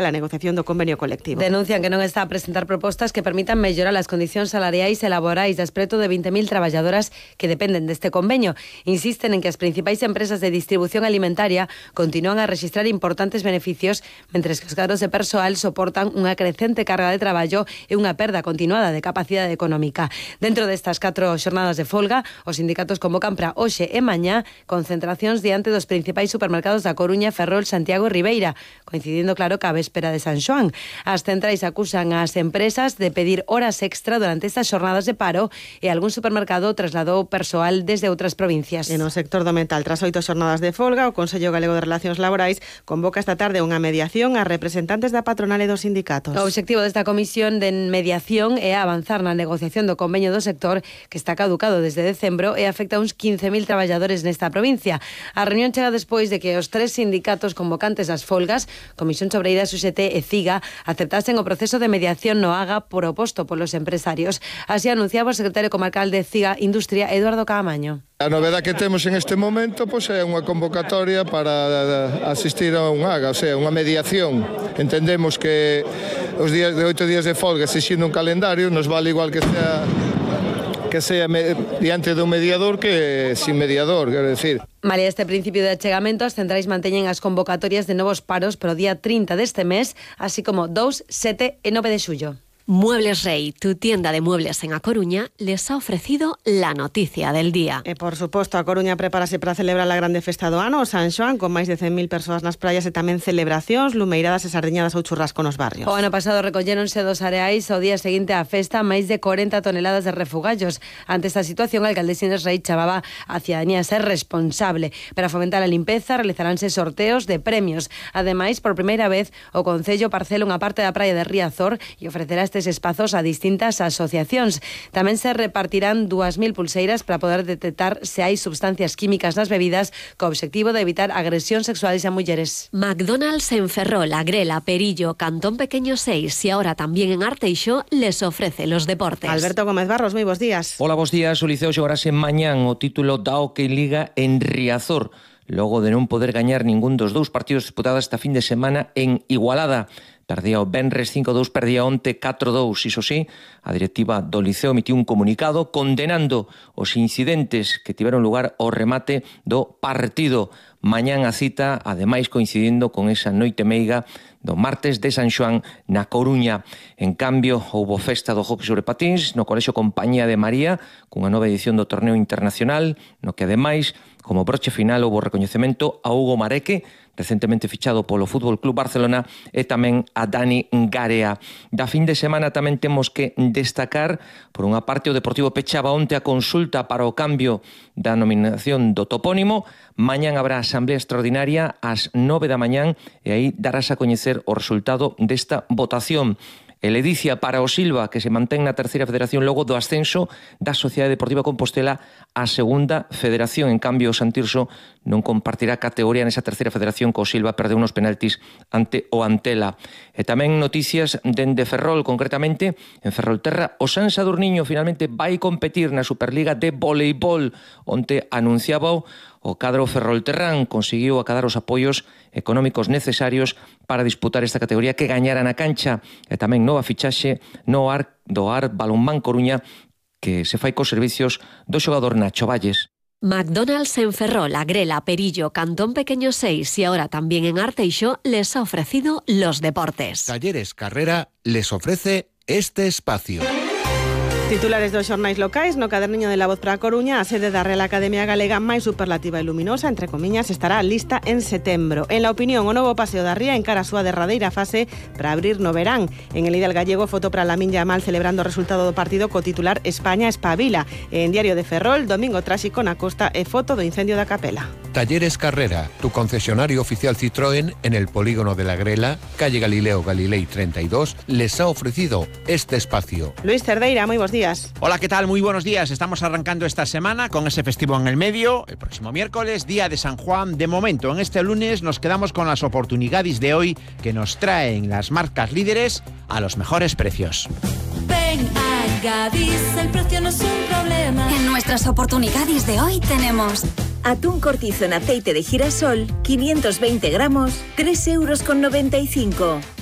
la negociación do convenio colectivo. Denuncian que non está a presentar propostas que permitan mellorar as condicións salariais e laborais das preto de 20.000 traballadoras que dependen deste convenio. Insisten en que as principais empresas de distribución alimentaria continúan a rexistrar importantes beneficios, mentres que os cadros de persoal soportan unha crecente carga de traballo e unha perda continuada de capacidade económica. Dentro destas 4 xornadas de folga, os sindicatos convocan para hoxe e mañá concentracións diante dos principais supermercados da Coruña, Ferrol, Santiago e Ribeira, coincidindo claro que a véspera de San Xoán. As centrais acusan ás empresas de pedir horas extra durante estas xornadas de paro e algún supermercado trasladou persoal desde outras provincias. En o sector do metal, tras 8 xornadas de folga, o Consello Galego de Relacións Laborais convoca esta tarde unha mediación a representantes da patronal e dos sindicatos. O obxectivo desta comisión de mediación é avanzar na negociación do convenio do sector que está caducado desde decembro e afecta a uns 15.000 traballadores nesta provincia. A reunión chega despois de que os 3 sindicatos convocantes das folgas, Comisión Obreiras, UGT e CIGA, aceptasen o proceso de mediación no AGA proposto polos empresarios. Así anunciaba o secretario comarcal de CIGA Industria, Eduardo Caamaño. A novedade que temos en este momento é unha convocatoria para asistir a un AGA, o sea, unha mediación. Entendemos que os días de 8 días de folga, exixindo un calendario, nos vale igual que sea diante dun mediador que sin mediador, quero decir. Malia este principio de achegamento, as centrais manteñen as convocatorias de novos paros para o día 30 deste mes, así como 2, 7 e 9 de xullo. Muebles Rey, tu tienda de muebles en A Coruña, les ha ofrecido la noticia del día. E, por suposto, A Coruña prepárase para celebrar a grande festa do ano, o San Xoán, con máis de 100.000 persoas nas praias e tamén celebracións, lumeiradas e sardiñadas ou churrasco nos barrios. O ano pasado recolléronse dos areais ao día seguinte á festa máis de 40 toneladas de refugallos. Ante esta situación, a alcaldesa Inés Rey chamaba a cidadanía a ser responsable. Para fomentar a limpeza, realizaránse sorteos de premios. Ademais, por primeira vez, o Concello parcela unha parte da praia de Riazor e ofrecerá estes espazos a distintas asociacións. Tamén se repartirán 2.000 pulseiras para poder detectar se hai substancias químicas nas bebidas, co obxectivo de evitar agresións sexuales a mulleres. McDonald's en Ferrol, Agrela, Perillo, Cantón Pequeño 6 y ahora también en Arteixo les ofrece los deportes. Alberto Gómez Barros, moi bons días. Hola, bons días. O Liceo xogarase mañán o título da Hockey Liga en Riazor, logo de non poder gañar ningún dos 2 partidos disputados esta fin de semana en Igualada. Perdía o venres 5-2, perdía onte 4-2. Iso sí, a directiva do Liceo emitiu un comunicado condenando os incidentes que tiveron lugar ao remate do partido. Mañán a cita, ademais coincidindo con esa noite meiga do martes de San Xoán na Coruña. En cambio, houbo festa do hockey sobre patins no Colexio Compañía de María, cunha nova edición do torneo internacional, no que ademais, como broche final, houbo recoñecemento a Hugo Mareque, recentemente fichado polo Fútbol Club Barcelona, e tamén a Dani Garea. Da fin de semana tamén temos que destacar, por unha parte, o Deportivo pechaba onte a consulta para o cambio da nominación do topónimo. Mañán habrá asamblea extraordinaria ás 9 da mañán e aí darás a coñecer o resultado desta votación. E ledicia para o Silva, que se mantén na terceira federación logo do ascenso da Sociedade Deportiva Compostela á segunda federación. En cambio, o Santirso non compartirá categoría nesa terceira federación, co Silva perdeu uns penaltis ante o Antela. E tamén noticias dende Ferrol, concretamente en Ferrolterra, o San Sadurniño finalmente vai competir na Superliga de voleibol. Onte anunciaba o cadro ferrolterrán, conseguiu acadar os apoios económicos necesarios para disputar esta categoría que gañara na cancha. E tamén nova fichaxe do AR Balonmán Coruña, que se fai cos servicios do xogador Nacho Valles. McDonald's en Ferrol, Agrela, Perillo, Cantón Pequeño 6 y ahora también en Arteixo les ha ofrecido los deportes. Talleres Carrera les ofrece este espacio. Titulares dos xornais locais, no caderniño de La Voz para a Coruña, a sede da Real Academia Galega máis superlativa e luminosa, entre comiñas, estará lista en setembro. En La Opinión, o novo paseo da Ría encara a súa derradeira fase para abrir no verán. En El Ideal Gallego, foto para Lamine Yamal celebrando o resultado do partido co titular España espabila. E en Diario de Ferrol, domingo tráxico na costa e foto do incendio da Capela. Talleres Carrera, tu concesionario oficial Citroën en el polígono de la Grela, calle Galileo Galilei 32, les ha ofrecido este espacio. Luis Cerdeira, moi bons días. Hola, ¿qué tal? Muy buenos días. Estamos arrancando esta semana con ese festivo en el medio. El próximo miércoles, día de San Juan. De momento, en este lunes nos quedamos con las oportunidades de hoy que nos traen las marcas líderes a los mejores precios. Ven a Gadis, el precio no es un problema. En nuestras oportunidades de hoy tenemos Atún cortizo en aceite de girasol, 520 gramos, 3,95 €.